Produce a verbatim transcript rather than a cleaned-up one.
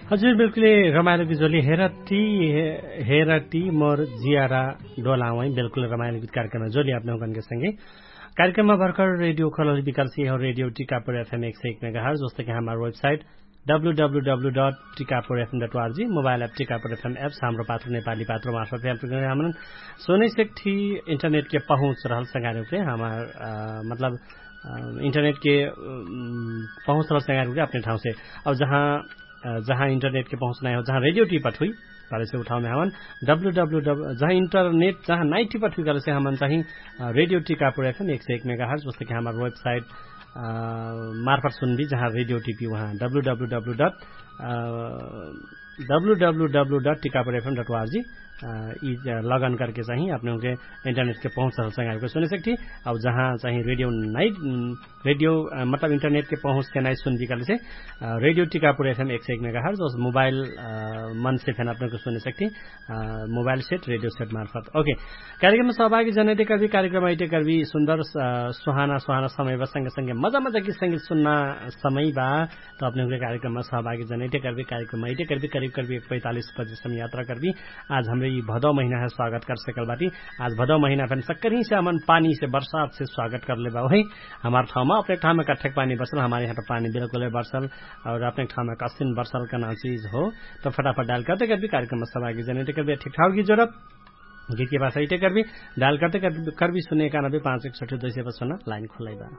हजुर बिल्कुलै रमाइलो गीत जोली हेरटी। हेरटी मोर जियारा डोलावै बिल्कुलै रमाइलो गीत कार्यक्रममा जोली अपने हुँकनके संगे कार्यक्रममा भर्खर रेडियो खोलल विकल्सी हो रेडियो टिकापुर एफएम एक सय एक मेगाहर जस्तो कि हमार website W W W dot Tikapur FM dot RG mobile app Tikapur FM apps हाम्रो पात्र नेपाली पात्र मार्फत हमन सोनै सेक्ठी इन्टरनेट के पहुँच रहल संगारे उपरे हमार मतलब इन्टरनेट के पहुँच रहल संगारे उपरे अपने ठाउँ से। अब जहाँ जहाँ इन्टरनेट के पहुँच नाइ हो जहाँ रेडियो टिपट हुई, कहलेसे उठाउमे हमन डब्लु डब्लु डब्लु जहाँ इन्टरनेट जहाँ नाइ टिपट हुई कहलेसे हमन चाहिँ रेडियो टिकापुर एफएम एक सय एक मेगाहर्ज जस्तो कि हमार वेबसाइट मार्फत सुनबी जहाँ रेडियो टिपी उहाँ W W W dot W W W dot Tikapur FM dot RG यि लगन करके चाहिँ अपने हुँके इन्टरनेट के पहुँच रहल संगारे उपरे सुने सक्ठी। अब जहाँ चाहिँ रेडियो नाइ रेडियो मतलब इन्टरनेट के पहुँच के नाइ सुनबी कहलेसे रेडियो टिकापुर एफएम एक सय एक मेगाहर्ज जस मोबाइल मन से फेन अपने हुँके सुने सक्ठी। मोबाइल सेट रेडियो सेट मार्फत ओके। कार्यक्रममा सहभागी जनैते करबी कार्यक्रम अइते करबी सुन्दर सुहाना सुहाना समय बा संगे संगे मजा मजा गीत संगीत सुन्ना समय बा। त अपने हुँके कार्यक्रममा सहभागी जनैते करबी कार्यक्रम अइते करबी करीब करबी एक पैंतालिस बजे समय यात्रा करबी। आज हमरे यि भदौ महिना है स्वागत कर सकल बाटी। आज भदौ महिना फेन सक्करही से हमन पानी से बरसात से स्वागत करले बा वही हमार ठाउँमा अपने ठाउँमा कठेक पानी बरसल हमार यहाँ त पानी बिल्कुलै बरसल। और अपने ठाउँमा कसिन बरसल कना चिज हो त फटाफट डायल करते करबी कार्यक्रममा सहभागी जनैते करबी ठिकठाक गीत जोरब। गीत के भाषा इटे करबी डायल करते करबी सुने एकानबे पाँच एक सठी दुई सय पचपन्न लाइन खुलै बा।